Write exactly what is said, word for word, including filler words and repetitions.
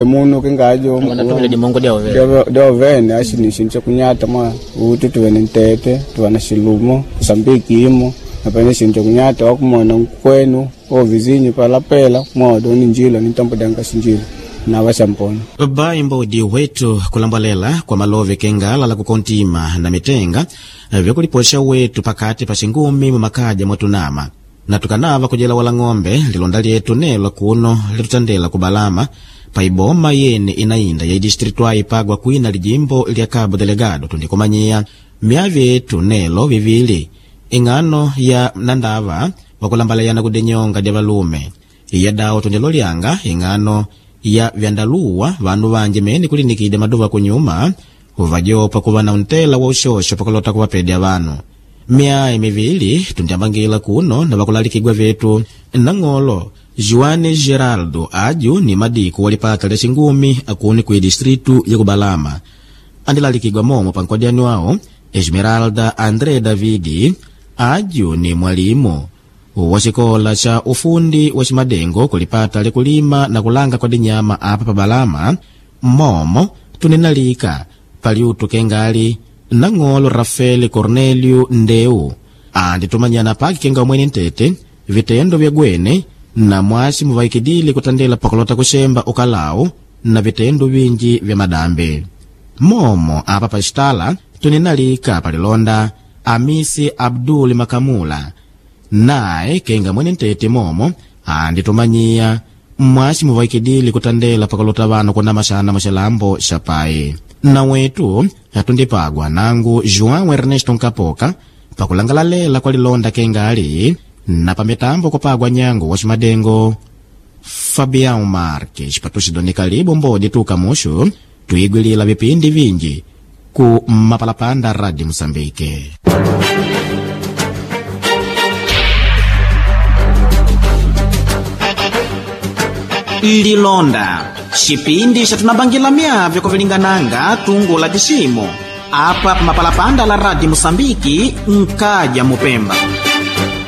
Munu kingajo Wanatumila dimongo dya ovene. Dyovene ashi ni shintu chakunyata mwa uti tuve ni ntete tuva na xilumo kusambiki imo napene shintu chakunyata wakumona nkwenu ovizinyu palapela mwodo ni njila ni ntambo danga xinjila na vaxampona. Bai mbodi wetu kulambalela kwa malove kengala la kukontima na mitenga vyakuliposha wetu pakati pa xingumi mumakaja mwatunama na tukanava kujela wala ng'ombe lilonda lyetu nelo kuno litutandela kubalama paiboma yene inainda ya idistritu aipagwa kwina lijimbo lya Cabo Delgado tundikumanyiya myavi yetu nelo vivili ing'ano ya nandava wakulambalayana kudinyonga dya valume iya dawo tundilolyanga ing'ano ya vyandaluwa vanu vanji mene kulinikide maduva kunyuma uvajopa kuva na untela wa uxoxo pakulota kuvapedya vanu myayi mivili tundiambangila kuno na vakulalikigwa vetu nang'olo Juane Geraldo aju ni madiko walipata lya xingumi akuni ku distritu ya kubalama andilalikigwa momo pankodyani wawo Esmeralda André Davidi aju ni mwalimu wa xikola xa ufundi wa ximadengo kulipata lyakulima na kulanga kwa dinyama apa pabalama momo tuninalika paliutu kengali nang'olo Rafael Cornelio Ndeu anditumanyana paki kenga mwene ntete vitendo vya gwene na mwasi muvaikidile kutandela pakulota kuxemba ukalau na vitendo vinji vya madambi momo apa paxitala tuninalika palilonda Amisi Abdul Makamula naye kenga mwene ntete momo anditumanyiya mwasi muvaikidile kutandela pakulota vanu kunamaxana muxilambo xa pai na wetu atundipagwa nangu João Ernesto Nkapoka pakulangalalela kwa lilonda kengali na pamitambo kupagwa nyango wa ximadengo Fabião Marques patuxidonika libo mbodi tuka muxu tuigwilila vipindi vinji ku mapalapanda Radio Moçambique. Lilonda xipindi xatunambangila myavyo kuvilingananga tungu la tiximo apa pamapalapanda la Radio Moçambique nkaja mupemba.